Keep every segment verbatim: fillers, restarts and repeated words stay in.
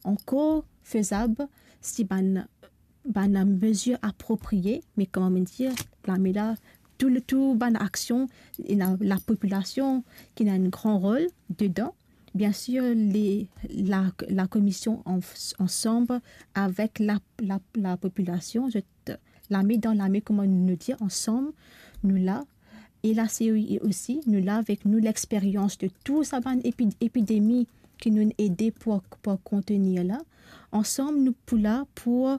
ankor fezab si bann, bann mezir apropriye, me kouma mo dir, lame la, tou, tou bann aksion, ena lapopilasion ki ena enn gran rol dedan. Biensir, le, la, lakomision an-, ansam avek la, la, lapopilasion, zot lame dan lame, kouma nou dir, ansam, nou la. E la, se osi, nou la avek nou lexperyans de tou sa bann epi-, epidemi ki nou ede pou, pou kontenir la. Ansam, nou pou la pou,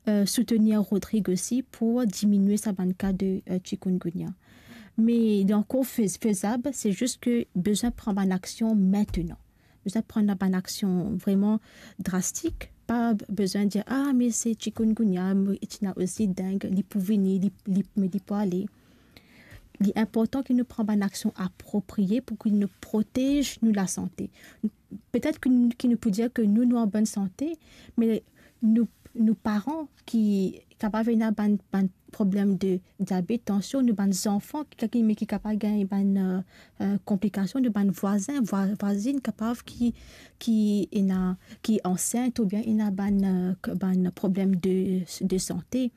eh, soutenir Rodrigue osi pou diminie sa bann ka de, eh, chikungunya. Me li ankor fez-, fezab, se zis ke bizin pran bann aksion mintenan. Bizin pran bann aksion vreman drastik. Pa bizin dir, "Ah, me se chikungunya, me ti ena osi deng, li pou vini, li, li, me li pou ale." Li inportan ki nou pran bann aksion apropriye pou ki nou protez nou lasante. Petet ki nou, ki nou pou dir ke nou, nou an bonn sante, me nou, nou paran ki kapav ena bann, bann problem de diabet, tansion, nou bann zanfan ki, ki, me ki kapav gagn bann, eh, eh, konplikasion, nou bann vwazin, vwa-, vwazinn kapav ki, ki ena, ki ansint oubien ena bann, eh, k-, bann problem de, de sante.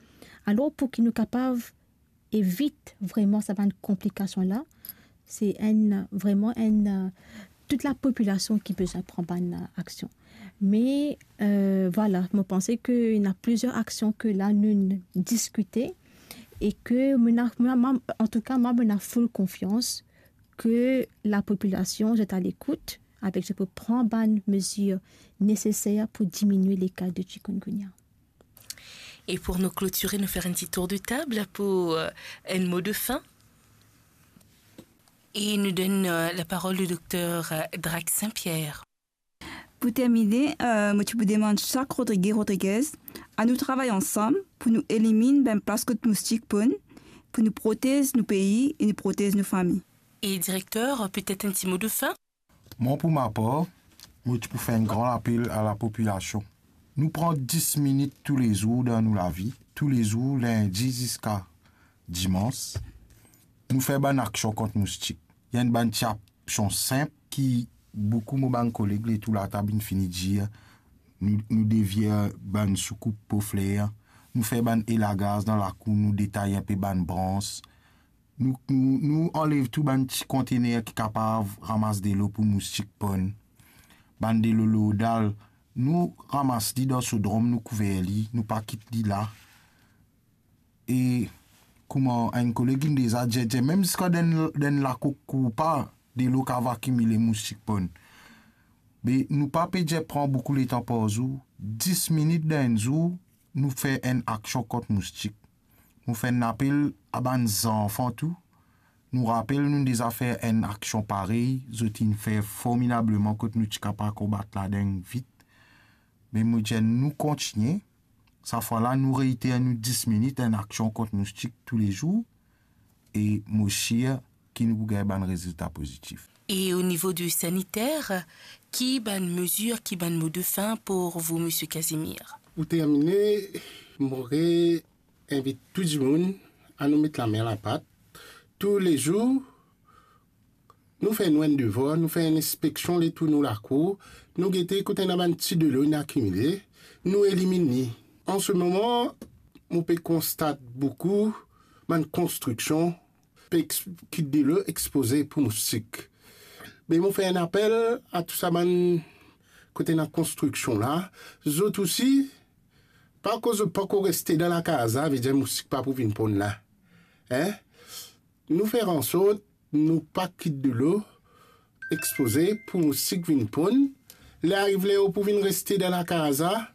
Alor, pou ki nou kapav evit vreman sa bann konplikasion la, se enn, vreman enn, eh, tou lapopilasion ki bizin pran bann, eh, aksion. Me, eh, vwala, mo panse ke ena plizier aksion ke la nou diskite e ke mo ena, mo ena, mo, antouka, mwa, mo ena full konfians ke lapopilasion, zot a lekout, avek zot pou pran bann mezir neseser pou diminie le ka de chikungunya. E pou nou klotire, nou fer enn ti tour de tab pou, eh, enn mo de fin. E nou donn, eh, laparol o dokter, eh, Drac Saint-Pierre. Pou termine, eh, mo ti pou demann sak Rodrige, Rodriguez, anou travay ansam pou nou eliminn bann plas kot moustik ponn, pou nou protez nou pei e nou protez nou fami. E direkter, petet enn ti mo de fin? Mwa, pou ma par, mo ti pou fer enn gran lapel a lapopilasion. Nou pran dis minit toulezour dan nou lavi, toulezour, lindi ziska dimans, nou fer bann aksion kont moustik. Ena bann ti aksion sinp ki boukou mo bann koleg letou latab inn fini dir, nou, nou devir bann soukoup po fler, nou fer bann elagaz dan lakour, nou detay inpe bann brans, nou, nou, nou anlev tou bann ti kontener ki kapav ramas delo pou moustik ponn. Bann delo lordal, nou ramas li dan so drom, nou kouver li, nou pa kit li la. E kouma enn koleg inn deza dir, dir, mem ziska dan, dan lakour pa, delo kapav akimile moustik ponn. Me nou pa pe dir pran boukou letan par zour, dis minit dan enn zour, nou fer enn aksion kont moustik. Nou fer enn lapel a bann zanfan tou. Nou rapel, nou deza fer enn aksion parey, zot inn fer formidableman kot nou ti kapav konbat ladeng vit. Me mo dir, nou kontigne. Sa fwa la, nou reiter nou dis minit, enn aksion kont moustik toulezour, e mo sir ki nou pou gagn bann rezilta pozitif. E o nivo de saniter, ki bann mezir, ki bann mo de fin pou vou, Misie Casimir? Pou termine, mo re invit tou dimoun anou met lame a lapat. Toulezour, nou fer nou enn devwar, nou fer enn inspeksion letour nou lakour, nou gete kot ena bann ti delo inn akimile, nou eliminn li. An se moman, mo pe konstat boukou bann konstriksion pe ex-, kit delo expoze pou moustik. Me mo fer enn apel a tou sa bann kot ena konstriksion la, zot osi, pa akoz zot pankor reste dan lakaz la, vedir moustik pa pou vinn ponn la. Hein? Nou fer ansort nou pa kit delo expoze pou moustik vinn ponn. Ler ariv ler ou pou vinn reste dan lakaz la,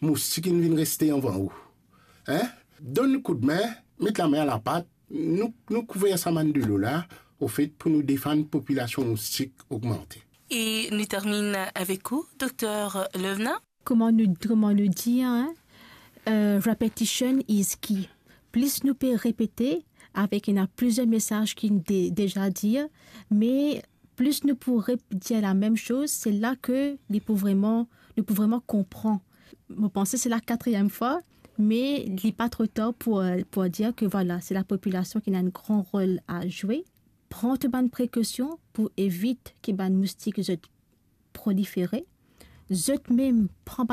moustik inn vinn reste anvan ou. Hein? Donn nou koudme, met lame a lapat, nou, nou kouver sa bann delo la, ofet, pou nou defann popilasion moustik ogmante. E nou terminn avek ou, Dokter Lovena. Kouma nou, kouma nou dir, hein, eh, repetition is key. Plis nou pe repete, avek ena plizier mesaz ki de-, deza dir, me plis nou pou rep-, dir lamem soz, se la ke li pou vreman, nou pou vreman konpran. Mo panse se la katriem fwa, me li pa tro tar pou, pou dir ke, vwala, se lapopilasion ki ena enn gran rol a zwe. Pran tou bann prekosion pou evit ki bann moustik zot prolifere. Zot mem pran